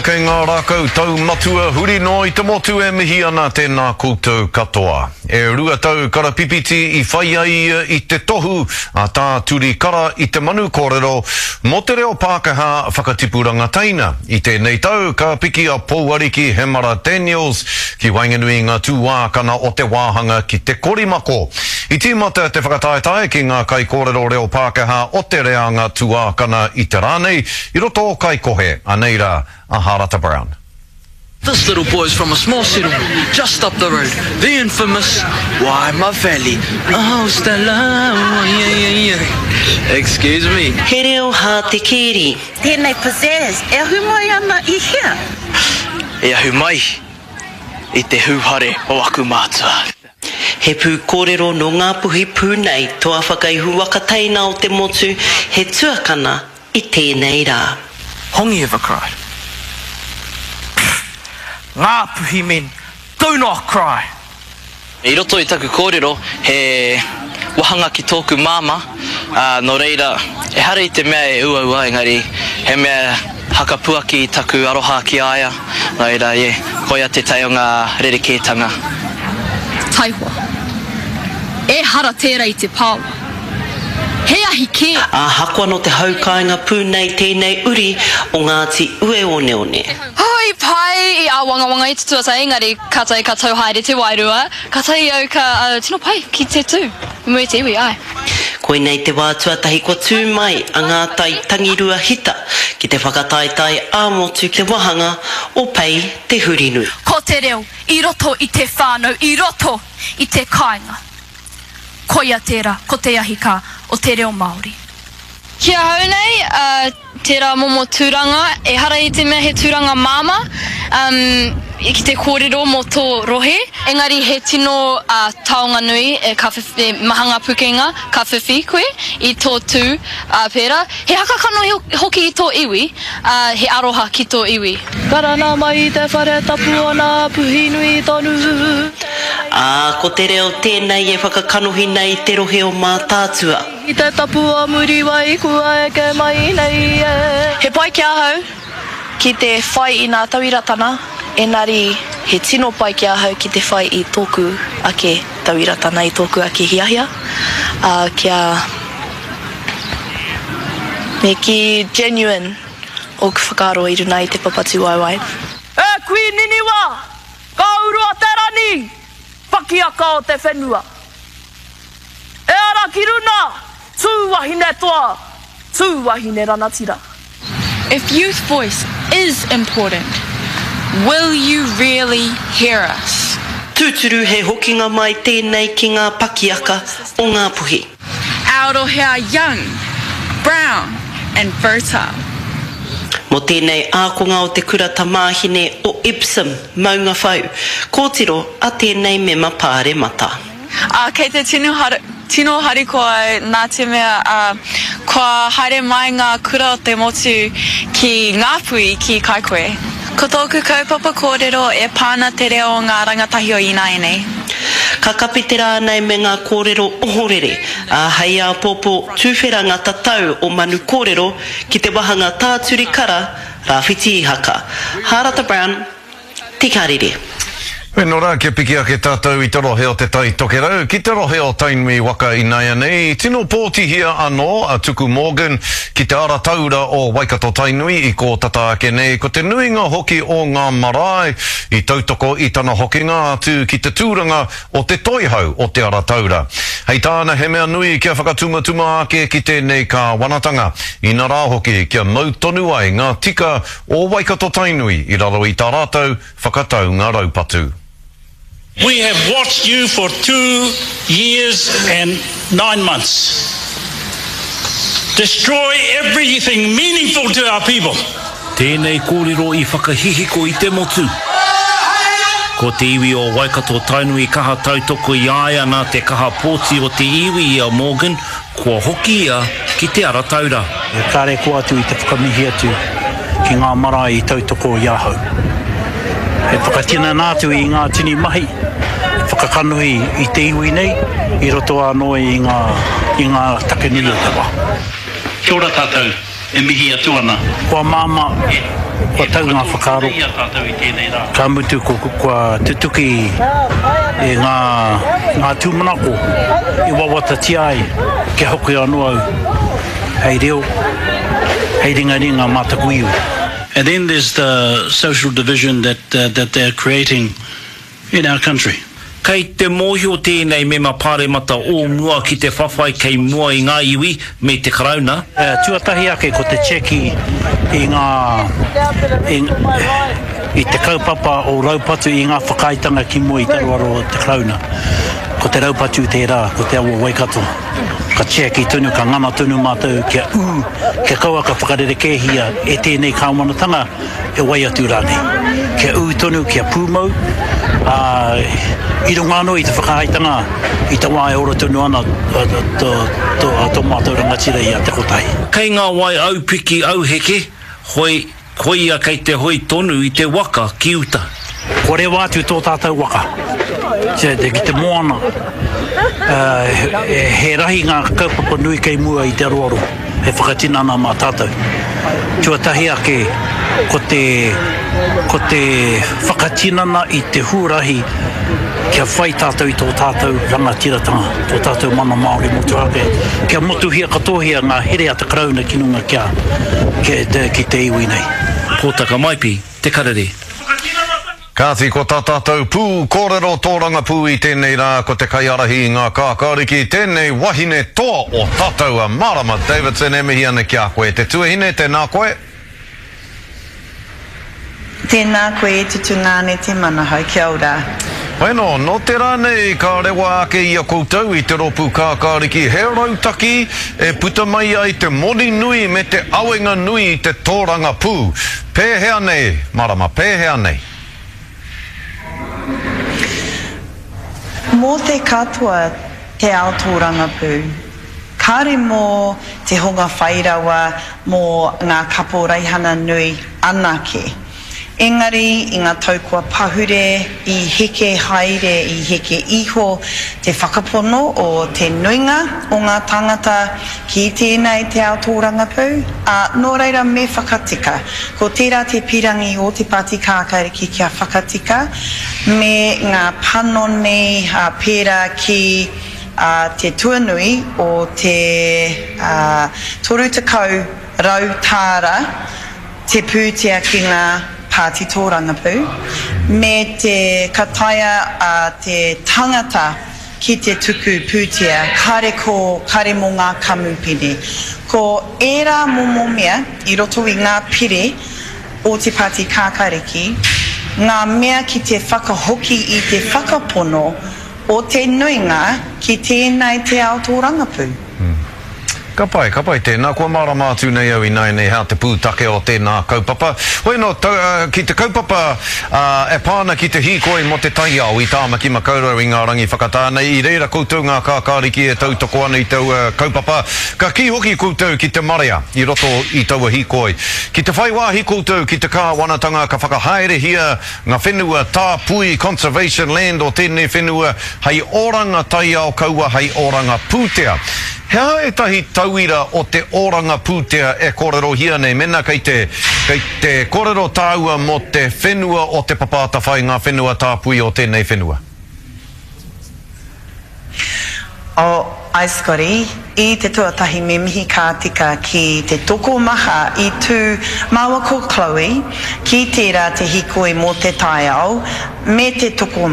Kei ngā rākau taumatua huri noa i te motu e mihi ana tēnā koutou katoa. E 2 tau karapipiti i whai ai ia i te tohu a Tā Turi Kara i te manu kōrero mō te reo Pākehā whakatipuranga teina. I tēnei tau ka piki a Pouariki Hemara Daniels ki waenganui i ngā tūākana o te wāhanga ki te korimako. I tīmata te whakataetae ki ngā kaikōrero reo Pākehā o te reanga tuākana i te rā nei, I roto o Kaikohe, anei rā a Harata Brown. This little boy's from a small settlement just up the road, the infamous Waima Valley. Oh, Stella, oh, yeah, yeah, yeah. Excuse me. He reo hātekēri. Tēnei pizzazz e ahu mai ana i hea? E ahu mai i te hūhare o aku mātua. He pūkōrero nō Ngāpuhi pū nei, toa whakaihu waka teina o te motu, he tuakana i tēnei rā. Hongi ever cried. Pfft! Ngāpuhi men do not cry! I roto i taku kōrero he wahanga ki tōku māmā, ā, nō reira, ehara i te mea e uaua engari he mea hakapuaki i taku aroha ki a ia, nō reira, yeah, koia tētahi o ngā rerekētanga. Taihoa. Ehara tērā i te pāoa. He ahi kē! Ahakoa nō te hau kāinga pū nei tēnei uri o Ngāti Ueoneone. Hui pai i āwangawanga i te tuatahi engari kātahi ka tau haere te wairua, kātahi au ka tino pai ki te tū i mua i te iwi, āe. Koinei te wā tuatahi kua tū mai a Ngātai Tangirua Hita ki te whakataetae ā-motu ki te wāhanga o Pei Te Hurinui. Ko te reo i roto i te whānau, i roto i te kāinga. Koia tērā, ko te ahi kā o te reo Māori. Ki ahau nei, tērā momo tūranga, ehara i te mea he tūranga māmā, ki te kōrero mō tō rohe, engari he tino taonga nui, ka whiwhi, maha ngā pukenga ka whiwhi koe i tō tū pērā. He haka kanohi hoki i tō iwi, he aroha ki tō iwi. Karanga mai i te whare tapu o nā Puhinui tonu. Ā, ko te reo tēnei e whakakanohi nei te rohe o Mātaatua. I te tapu o Muriwai kua eke mai nei e. He pai ki ahau ki te whai i nā tauiratana, enari he tino pai ki ahau ki te whai i tōku ake tauiratana, i tōku ake hiahia, ā, kia me kī genuine ōku whakaaro i runa i te papa tūwaewae. E kui Niniwa, ka uru a te rani, pakiaka o te whenua. E ara ki runa, tū wahine toa, tū wahine ranatira. If youth voice is important, will you really hear us? Tūturu he hokinga mai tēnei ki ngā pakiaka o Ngāpuhi. Our rohe are young, brown and fertile. Mō tēnei ākonga o te kura tamāhine o Epsom, Maungawhau, kōtiro a tēnei mema pāremata. Ā, kei te tino tino harikoa au nā te mea, ā, kua haere mai ngā kura o te motu ki Ngāpuhi, ki Kaikohe. Ko tōku kaupapa kōrero e pā ana te reo o ngā rangatahi o ināianei. Ka kapi te rā nei me ngā kōrero ohorere, ā, hei āpōpō tuwhera ngā tatau o Manu Kōrero ki te wahanga Tāturi Kara, Rāwhiti Ihaka. Hārata Brown, Te Karere. Weno rā, kia piki ake tātou i te rohe o Te Tai Tokerau ki te rohe o Tainui waka inaianei. Tino pōtihia anō a Tuku Morgan ki te ara taura o Waikato Tainui i kō tata ake nei. Ko te nuinga hoki o ngā marae i tautoko i tana hokinga atu ki te tūranga o te toihau o te ara taura. Hei tāna he mea nui kia whakatumatuma ake ki tēnei kāwanatanga, inarā hoki kia mau tonu ai ngā tika o Waikato Tainui i raro i tā rātou whakataunga raupatu. We have watched you for 2 years and 9 months destroy everything meaningful to our people. Tēnei kōrero i whakahihiko i te motu. Ko te iwi o Waikato Tainui kaha tautoko i a ia nā te kaha pōti o te iwi i a Morgan, kua hoki ia ki te ara taura. Kāre kō atu i te whakamihi atu ki ngā marae i tautoko i ahau. E whakatinana atu i ngā tini mahi, e whakakanohi i te iwi nei i roto anō i ngā, i ngā take nui o te wā. Kia ora tātou. E mihi atu ana. Kua māmā, kua tau ngā whakaaro, ka mutu kua tutuki i ngā, ngā tūmanako i wawatatia ai kia hoki anō au hei reo, hei ringaringa mā taku iwi. And then there's the social division that that they're creating in our country. Kei te mōhio tēnei mema pāremata o mua ki te whawhai kei mua i ngā iwi me te Karauna. Tuatahi ake ko te tiaki i ngā, i, i te kaupapa o raupatu i ngā whakaaetanga ki mua i te aroaro o te Karauna. Ko te raupatu tērā, ko te awa Waikato. Ka tiaki tonu, ka ngana tonu mātou kia ū, kia kaua ka whakarerekēhia e tēnei kāwanatanga e wai atu rānei. Kia ū tonu, kia pūmau, ā, i runga anō i te whakaaetanga i te wā e ora tonu ana tō, tō, tō mātou rangatira i a Te Kotahi. Kei ngā wai aupiki auheke, hoi, koia kei te hoe tonu i te waka ki uta. Kua rewa atu tō tātou waka ki te moana, he rahi ngā kaupapa nui kei mua i te aroaro hei whakatinana mā tātou. Tuatahi ake, ko te, ko te whakatinana i te huarahi kia whai tātou i tō tātou rangatiratanga, tō tātou mana Māori motuhake, kia motuhia katohia ngā here a te Karauna ki runga kia, ki te iwi nei. Pōtaka Maipi, Te Karere. Kāti, ko tā tātou pū kōrero tōrangapū i tēnei rā ko te kaiārahi i ngā kākāriki, tēnei wahine toa o tātou a Marama Davidson e mihi ana ki a koe. Te tuahine, tēnā koe. Tēnā koe e te tungāne te manahau, kia ora. Bueno, nō te rā nei ka rewa ake i a koutou i te rōpū kākāriki he rautaki e puta mai ai te moni nui me te awenga nui i te tōrangapū. Pēhea nei, Marama, pēhea nei? Mō te katoa te ao tōrangapū. Kāre mō te hunga whairawa, mō ngā kaporeihana nui anake. Engari i ngā tau kua pahure, i heke haere, i heke iho te whakapono o te nuinga o ngā tāngata ki tēnei te ao tōrangapū, ā, nō reira me whakatika. Ko tērā te pirangi o Te Pāti Kākāriki kia whakatika me ngā panoni pērā ki te tuanui o te 30 tāra te pūtea ki ngā pāti tōrangapū, me te ka taea a te tangata ki te tuku pūtea kare ko kare mō ngā kamupene. Ko ērā momo mea i roto i ngā pire o Te Pāti Kākāriki, ngā mea ki te whakahoki i te whakapono o te nuinga ki tēnei te ao tōrangapū. Ka pai, ka pai tēnā. Kua mārama atu nei au ināianei hea te pūtake o tēnā kaupapa. Hoi anō, ki te kaupapa e pā ana ki te hīkoi mō te taiao i Tāmaki Makaurau i ngā rangi whakatā nei, i reira koutou ngā kākāriki e tautoko ana i taua kaupapa. Ka kī hoki koutou ki te marea i roto i taua hīkoi. Ki te whai wāhi koutou ki te kāwanatanga ka whakahaerehia ngā whenua tāpui, conservation land, o tēnei whenua hei oranga taiao kaua hei oranga pūtea. He aha ētahi tauira o te oranga pūtea e kōrerohia nei mēnā kei te, kei te kōrero tāua mō te whenua o Te Papa Atawhai, ngā whenua tāpui o tēnei whenua? Oh, ae Scotty, i te tuatahi me mihi ka tika ki te tokomaha i tū māua ko Chloe ki tērā te hikoi mō te taiao me te tokomaha.